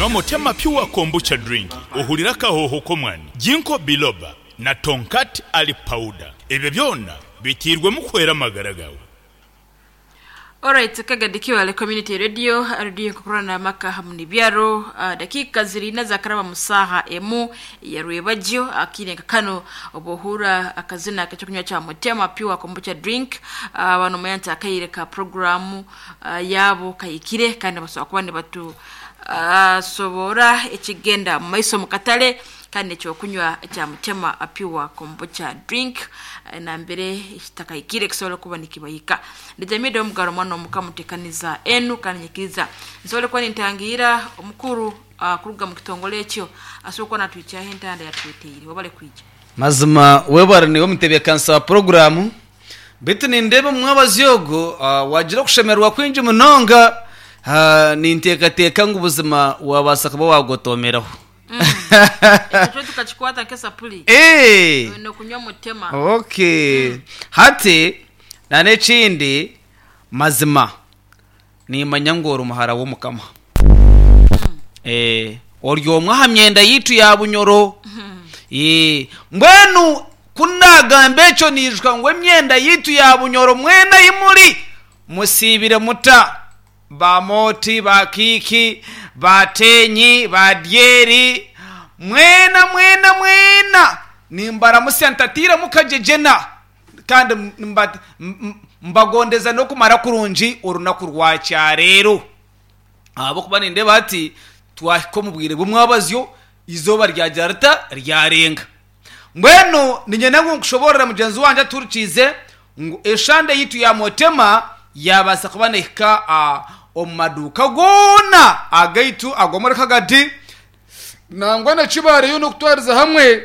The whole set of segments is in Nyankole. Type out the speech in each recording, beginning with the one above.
Nywa Motema Pure Kombucha Drink ohurire akahooho k'omwani, Ginkgo Biloba na Tongkat Ali Powder. Ebyo byona biteirwemu kuhwera amagara gaawe. Alright Kagadi Kiwale Community Radio, radio enkukurana amaka hamu n'ebyaro. Dakiika ziri ina zakaraba mu saaha emu ya rwebagyo. Akaire nka kano obu ohurra akazina ak'ekyokunywa kya Mutema Pure Kombucha Drink, uh, nomanya nti akaire ka puroguraamu yaabo kahikire kandi nibasobora kuba nibatu soboora ekigenda mu maiso omu katale kandi n'ekyokunywa kya Mutema Pure Kombucha Drink nambere kitakahikire kisobole kuba nikibahika. Ndi Jamida Omugaro omwana omuka mutekaniza enu kandi nyikiriza nsobole kuba nintangiira omukuru kuruga mu kitongole ekyo asobole kuba natwikyaho entanda yatweteire. Webale kwija. Mazima webare niiwe omutebeekanisa wa puroguraamu. Beitu nindeeba omu mwabazyo ogu waagira okushemererwa kwingi munonga. Ninteekateeka ngu buzima waabaasa kuba waagotoomeraho. Ekyo tukakikwata nk'esapuri. Oine kunywa mutema. Okay. Hati n'ekindi mazima niimanya ngu ori muhara w'Omukama. Ori omwe aha myenda yaitu ya Bunyoro. Mbwenu ku naagamba ekyo naijuka ngu emyenda yaitu ya Bunyoro mwena ahi muri musiibire muta? Ba Mooti, ba Kiiki, ba Teenyi, ba Dyeri, mwena mwena mwena nimbaramutsya ntatairemu kagyegyena kandi mbagondeza n'okumara kurungi orunaku rwa kyareero. Ahabw'okuba nindeeba hati twahika omu bwire bw'omwabazyo, eizooba ryagira rita? Ryarenga. Mbwenu niinyenda ngu nkushoboorore mugyenzi wangye atuhurikiize ngu eshande yaitu ya Motema yaabaasa kuba neehika omu maduuka goona agaitu ag'omuri Kagadi nangwa na Kibaale yoona okutwariza hamwe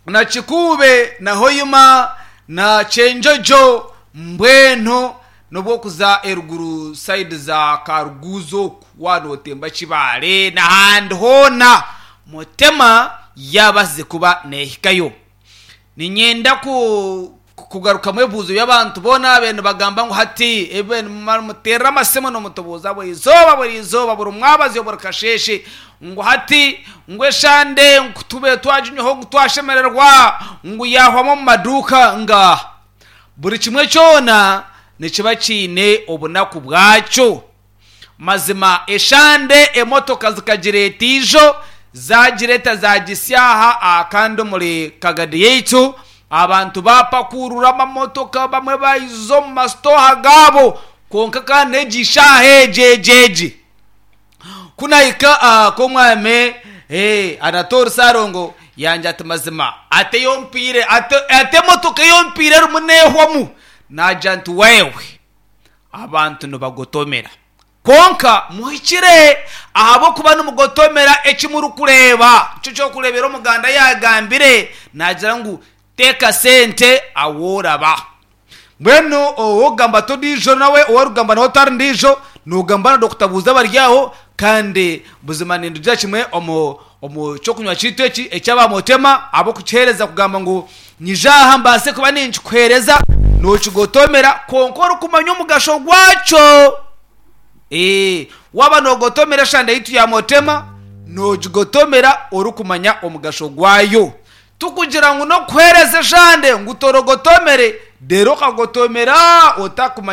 na Kikuube na Hoima na Kyenjojo mbwenu n'obu orikuza eruguru sayidi za Karuguuzi oku waaba nootemba Kibaale n'ahandi hoona Motema yaabaasize kuba neehikayo. Niinyenda kugarukamu ebibuuzo by'abantu boona ababaire nibagamba ngu hati nimuteerera amasimu nimutubuuza buri izooba buri izooba buri mwabazyo buri kasheeshe ngu hati ngu eshande ngu tubaire twaginywaho ngu twashemererwa ngu yaahwamu omu maduuka. Ngaaha! Buri kimwe kyona nikiba kiine obunaku bwakyo. Mazima eshande emotoka zikagireeta ijo, zaagireeta zaagisya aha aha kandi omuri Kagadi yaitu abantu baapakuurura amamotoka bamwe baijuza omu masitooha gaabo kwonka kandi n'egi shaaha egi egi egi ku nahika aha k'omwami Anatole Ssalongo yangira ati mazima ati ei ompaire ati emotoka ei ompaire erimu neehwamu naagira nti wewe Abantu nibagotomera. Kwonka muhikire, ahabw'okuba nimugotomera eki murikureeba. Nikyo ky'okureebera Omuganda yaagambire naagira ngu, Teeka sente ahu oraba. Mbwenu ow'okugamba ti ondiijo nawe, ou orikugamba nawe tari ndiijo, noogamba na Dokita Buuza bari aho, kandi buzima nindugira kimwe omu omu ky'okunywa kyaitu eki eky'abamotema ahabw'okukiheereza kugamba ngu Nyija aha mbaase kuba ninkikuheereza, nookigotomera, kwonka orikumanya omugasho gwakyo. Ee, waaba noogotomera eshande yaitu ya Motema, noogigotomera orikumanya omugasho gwayo. Tikugira ngu n'okuheereza eshande ngu torogotomere, reero okagotomera otakumanya.